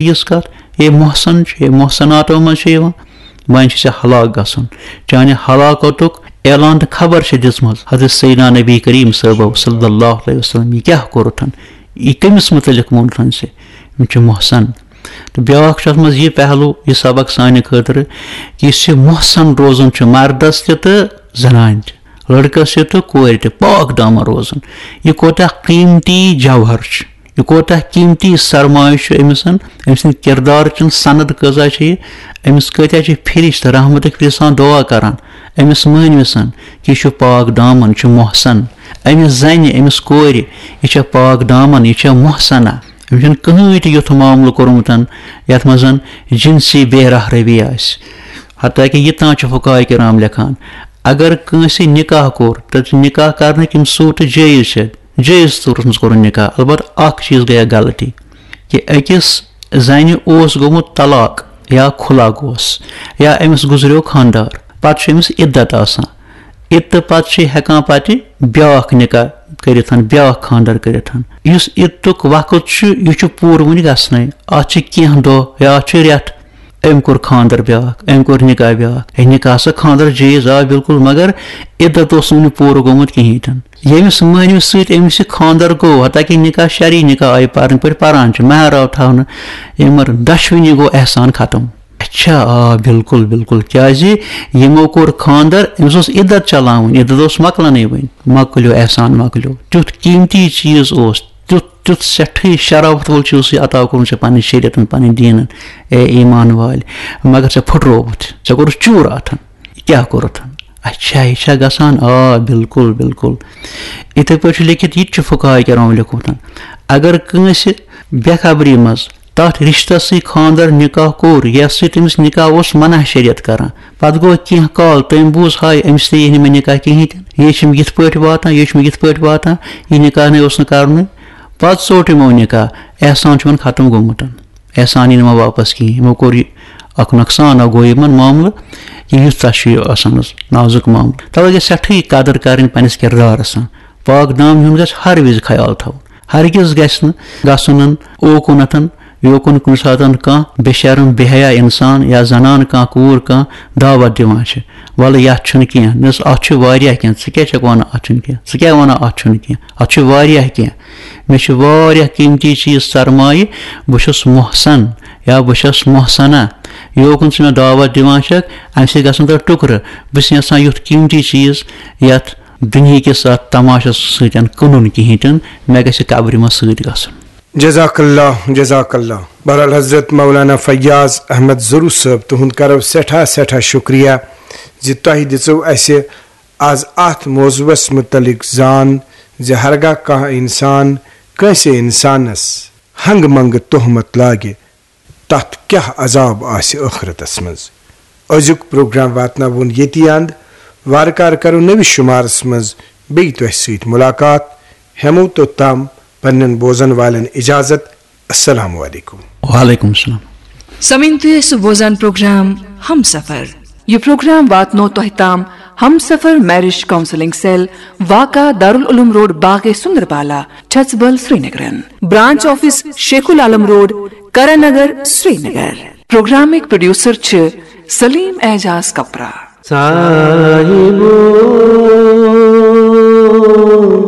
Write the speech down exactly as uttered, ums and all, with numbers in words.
یِژھ کَتھ، ہے محسن چھُ، ہے محسناتو منٛز چھُ یِوان، وۄنۍ چھُ ژےٚ ہلاک گژھُن۔ چانہِ ہلاکتُک اعلان تہٕ خبر چھِ دِژمٕژ حضرت سیدنا نبی کریم صٲبو صلی اللہ علیہ وسلم۔ یہِ کیٛاہ کوٚرُتھ؟ یہِ کٔمِس مُتعلِق ووٚنُتھ ژےٚ؟ یِم چھِ محسن۔ تہٕ بیٛاکھ چھُ اَتھ منٛز یہِ پہلو، یہِ سبق سانہِ خٲطرٕ، کہِ یُس یہِ محسن روزُن چھُ مردس تہِ تہٕ زنانہِ تہِ، لڑکس تہِ تہٕ کورِ تہِ، پاک دامن روزُن۔ یہِ کوتاہ قیمتی جوہر چھُ، یہِ کوتاہ قیمتی سرمایہ چھُ أمِس۔ أمۍ سٕنٛدِ کردارٕچ سند کۭژاہ چھِ یہِ؟ أمِس کۭتیاہ چھِ فرشتہٕ رحمتٕکۍ فرشتہٕ آسان دعا کران أمِس مٲنوِسن، کہِ یہِ چھُ پاک دامن، چھُ محسن۔ أمِس زنہِ، أمِس کورِ، یہِ چھےٚ پاک دامن، یہِ چھےٚ محسنہ۔ أمِس چھُنہٕ کٕہٕنۍ تہِ یُتھ معاملہٕ کوٚرمُت یتھ منٛز جنسی بے راہ روی آسہِ۔ حتیٰ کہِ یہِ تام چھُ فقہاء کرام لیکھان، اگر کٲنٛسہِ نکاح کوٚر، تہٕ نکاح کرنٕکۍ یِم صورتہٕ جٲیز چھِ، جٲیز صورتس منٛز کوٚرُن نکاح، البتہ اکھ چیٖز گٔیہ غلطی، کہِ أکِس زنہِ اوس گوٚمُت طلاق یا خلع گوس، یا أمِس گُزریو خانٛدار، پتہٕ چھُ أمِس عدت آسان۔ عدت پتہٕ چھُ ہٮ۪کان پتہٕ بیٛاکھ نکاح کٔرِتھ، بیٛاکھ خانٛدر کٔرِتھ۔ یُس عدتُک وقت چھُ، یہِ چھُ پوٗرٕ وُنہِ گژھنَے۔ اتھ چھِ کینٛہہ دۄہ یا اتھ چھِ رٮ۪تھ۔ أمۍ کوٚر خانٛدر بیٛاکھ، أمۍ کوٚر نکاح بیٛاکھ۔ ہے، نکاح سا خانٛدر جٲیز آ بالکل، مگر عدت اوس نہٕ وُنہِ پوٗرٕ گوٚمُت کِہیٖنۍ تہِ نہٕ۔ ییٚمِس مٲنِوِس سۭتۍ أمِس یہِ خانٛدر گوٚو، حتیٰ کہِ نِکاح شرعی نِکاح آیہِ پرنہٕ پٲٹھۍ پران چھِ، مہر آو تھاونہٕ، یِمن دۄشوٕنی گوٚو احسان ختم۔ اچھا، آ، بالکل، بالکل۔ کیازِ یِمو کوٚر خانٛدر، أمِس اوس عدت چلاوٕنۍ، عدت اوس مۄکلنٕے وۄنۍ۔ مۄکلیو احسان، مۄکلیو۔ تیُتھ قیمتی چیٖز اوس، تیُتھ، تیُتھ سٮ۪ٹھٕے شرافت وول چیٖز اوس یہِ عطا کوٚرمُت ژےٚ پننہِ شریعتن، پننہِ دیٖنن، اے ایمان والہِ۔ مگر ژےٚ پھُٹرووُتھ، ژےٚ کوٚرُتھ چوٗر اتھن۔ یہِ کیٛاہ کوٚرُتھ؟ اچھا، یہِ چھا گژھان؟ آ، بالکل، بالکل۔ یِتھے پٲٹھۍ چھُ لیکھِتھ، یہِ تہِ چھُ فقہاء کرام لیوٚکھمُت۔ اگر کٲنٛسہِ بے خبری منٛز تتھ رشتس سۭتۍ خانٛدر نکاح کوٚر، یتھ سۭتۍ تٔمِس نکاح اوس منع شریعت کران، پتہٕ گوٚو کینٛہہ کال، تٔمۍ بوٗز، ہاے، أمِس تہِ یی نہٕ مےٚ نکاح کِہیٖنۍ تہِ نہٕ، یہِ چھُم یِتھ پٲٹھۍ واتان، یہِ چھُم یِتھ پٲٹھۍ واتان، یہِ نکاح نے اوس نہٕ کرنُے۔ پتہٕ ژوٚٹ یِمو نکاح، احسان چھُ وۄنۍ ختم گوٚمُت۔ احسان یی نہٕ وۄنۍ واپس کِہیٖنۍ۔ یِمو کوٚر یہِ اکھ نۄقصان، اکھ گوٚو یِمن معاملہٕ، یہِ یُتھ تَس چھُ یہِ آسان حظ نازُک معاملہٕ۔ توے گژھِ سٮ۪ٹھٕے قدر کرٕنۍ پننِس کردارس۔ پاک دامنہِ ہُنٛد گژھِ ہر وِزِ خیال تھاوُن۔ ہرگز گژھِ نہٕ گژھُن اوکُنتھن یوکُن کُنہِ ساتن کانٛہہ بے شرم، بے حیا انسان یا زنان کانٛہہ کوٗر کانٛہہ دعوت دِوان چھِ، "وَلہٕ یتھ چھُنہٕ کینٛہہ، نہ حظ، اتھ چھُ واریاہ کینٛہہ، ژٕ کیٛاہ چھکھ ونان اتھ چھُنہٕ کینٛہہ؟ ژٕ کیٛاہ ونان اتھ چھُنہٕ کینٛہہ؟ اتھ چھُ واریاہ کینٛہہ۔ مےٚ چھِ واریاہ قیمتی چیٖز سرمایہِ، بہٕ چھُس محسن یا بہٕ چھَس محسنہ، یوکُن ژٕ مےٚ دعوت دِوان چھکھ، امہِ سۭتۍ گژھن تۄہہِ ٹُکرٕ۔ بہٕ چھُس یژھان یُتھ قیمتی چیٖز یتھ دُنہِکِس اتھ تماشس سۭتۍ کٕنُن کِہیٖنۍ تہِ نہٕ، مےٚ گژھِ قبرِ منٛز سۭتۍ گژھُن۔" جزاک اللہ، جزاک اللہ۔ بہرحال حضرت مولانا فیاض احمد ضرو صٲب، تُہُنٛد کرو سٮ۪ٹھاہ سٮ۪ٹھاہ شُکریہ زِ تۄہہِ دِژو اَسہِ آز اَتھ موضوعس مُتعلق زان زِ ہرگاہ کانٛہہ اِنسان کٲنٛسہِ اِنسانس ہنٛگہٕ منٛگہٕ تہمت لاگہِ، تَتھ کیٛاہ عذاب آسہِ ٲخرتس منٛز۔ أزیُک پروگرام واتناوون ییٚتی اند۔ وارٕ کارٕ کرو نٔوِس شُمارس منٛز بیٚیہِ تۄہہِ سۭتۍ مُلاقات۔ ہٮ۪مو توٚتام پننٮ۪ن بوزن والٮ۪ن اجازت۔ السلام علیکم۔ وعلیکم السلام۔ سمعین، تُہۍ ٲسِو بوزان پروگرام ہم سفر۔ یہِ پروگرام واتنو تۄہہِ تام ہم سفر میرج کاؤنسلنگ سیل، واقع دارالعلوم روڈ، باغے سندربالا، چھژبل، سرینگرن۔ Branch office Sheikh ul-Alam road, Karan Nagar, Srinagar. پروگرامٕکۍ پروڈیوسر چھِ سلیم اعجاز کپرا۔ صاحبو۔